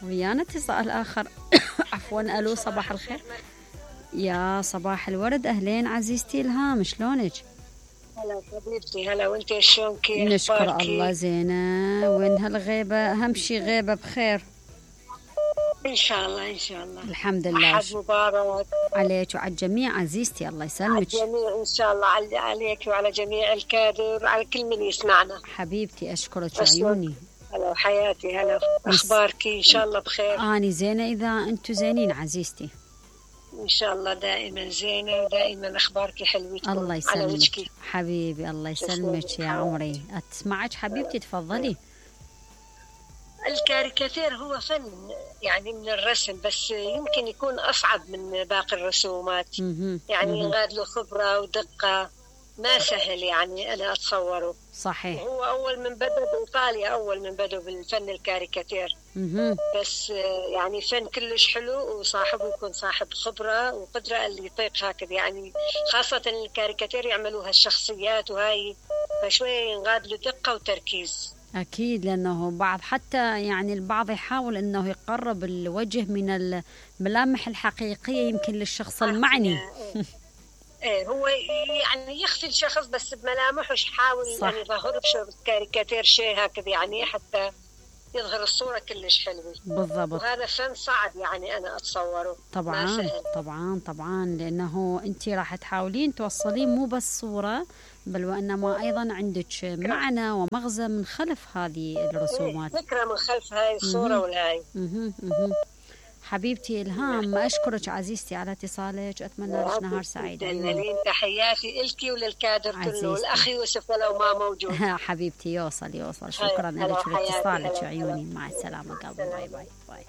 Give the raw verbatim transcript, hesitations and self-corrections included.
ويانا اتصال آخر. عفوا. ألو صباح الخير. يا صباح الورد، أهلين عزيزتي إلهام، شلونك؟ هلا حبيبتي، هلا وانت شلون كيف؟ نشكر الله زينة. وين هالغيبة؟ أهم شي غيبة بخير إن شاء الله إن شاء الله. الحمد لله. أحد مبارك عليك وعلى الجميع عزيزتي، الله يسلمك. على الجميع إن شاء الله، عليك وعلى جميع الكادر وعلى كل من يسمعنا. حبيبتي أشكرك عيوني. هلا وحياتي، هلا. أخبارك إن شاء الله بخير؟ أني زينة إذا أنتوا زينين عزيزتي. إن شاء الله دائما زينة ودائما أخبارك حلوة. الله يسلمك حبيبي، الله يسلمك يا عمري. أتسمعك حبيبتي، تفضلي. الكاريكاتير هو فن يعني من الرسم، بس يمكن يكون أصعب من باقي الرسومات. يعني ينغاد له خبرة ودقة، ما سهل يعني أنا أتصوره. صحيح. هو أول من بدأ بإيطاليا، أول من بدأ بالفن الكاريكاتير. بس يعني فن كلش حلو، وصاحبه يكون صاحب خبرة وقدرة اللي يطيق هكذا. يعني خاصة الكاريكاتير يعملوها الشخصيات وهاي، فشوية ينغاد له دقة وتركيز. أكيد، لأنه بعض حتى يعني البعض يحاول أنه يقرب الوجه من الملامح الحقيقية يمكن للشخص المعني. ايه هو يعني يخفي الشخص بس بملامحه، يحاول يعني يظهر بكاريكاتير شيء هكذا يعني حتى يظهر الصورة كلش حلوة. بالضبط. وهذا فن صعب يعني أنا أتصوره. طبعا طبعا طبعا، لأنه أنت راح تحاولين توصلين مو بس صورة، بل وإنما أيضا عندك معنى ومغزى من خلف هذه الرسومات. فكرة من خلف هاي الصورة والهاي. حبيبتي إلهام، أشكرك عزيزتي على اتصالك، أتمنى لك نهار سعيد. تحياتي إلكي وللكادر كله، والأخ يوسف ولو ما موجود. حبيبتي يوصل يوصل. شكرا لك ولاتصالك عيوني. مع السلامة قلبي. باي باي باي.